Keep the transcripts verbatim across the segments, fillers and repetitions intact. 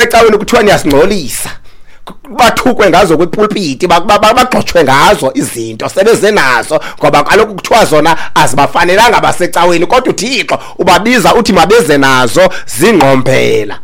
Ecaweni kuthiwa niyasingcolisa, bathukwe ngazo kwipulpiti, bagxotshwe ngazo izinto sebeze nazo, ngoba kaloku kuthiwa zona azibafanelanga abasecaweni, kodwa uThixo ubabiza uthi mabeze nazo zingqombela.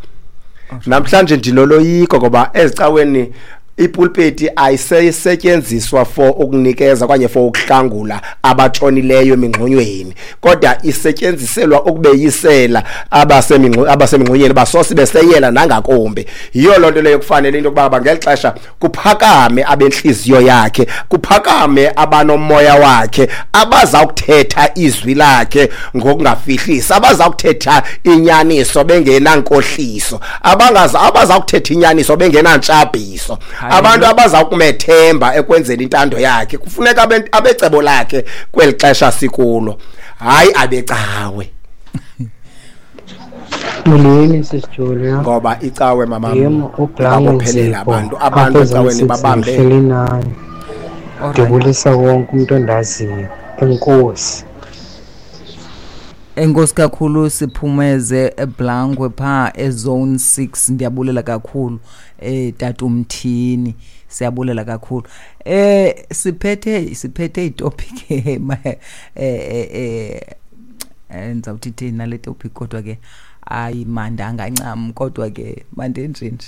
Namhlanje ndinoloyiko ngoba ezicaweni ipulpiti ayisesetyenziswa for ukunikeza okanye for ukuhlangula abatshonileyo emingxunyweni, kodwa isetyenziselwa ukubeyisela abasemingxunyeni basosi beseyela nangakumbi. Yiyo loo nto leyo kufanele into yokuba ngeli xesha kuphakame abentliziyo yakhe, kuphakame abanomoya wakhe, abaza kuthetha izwi lakhe ngokungafihlisi, abaza kuthetha inyaniso bengenankohliso, abangaza abaza kuthetha inyaniso bengenantshabhiso, abantu abaza kumethemba ekwenzeni intando yakhe. Kufuneka abecebo lakhe kweli xesha sikulo, hayi abecawe. Molweni sisiJulia, ngoba icawe mama babophelela abantu, abantu ecaweni babambe. Ndibulisa wonke umuntu ondaziyo. Enkosi. Enkosi kakhulu Siphumeze eBlankwe pha eZone six. Ndiyabulela kakhulu eh Tatumthini, siyabulela kakhulu. Eh siphethe siphethe itopic eh eh eh ndizawuthi thina le topic, kodwa ke ayimandanga ncam, kodwa ke mandenje nje.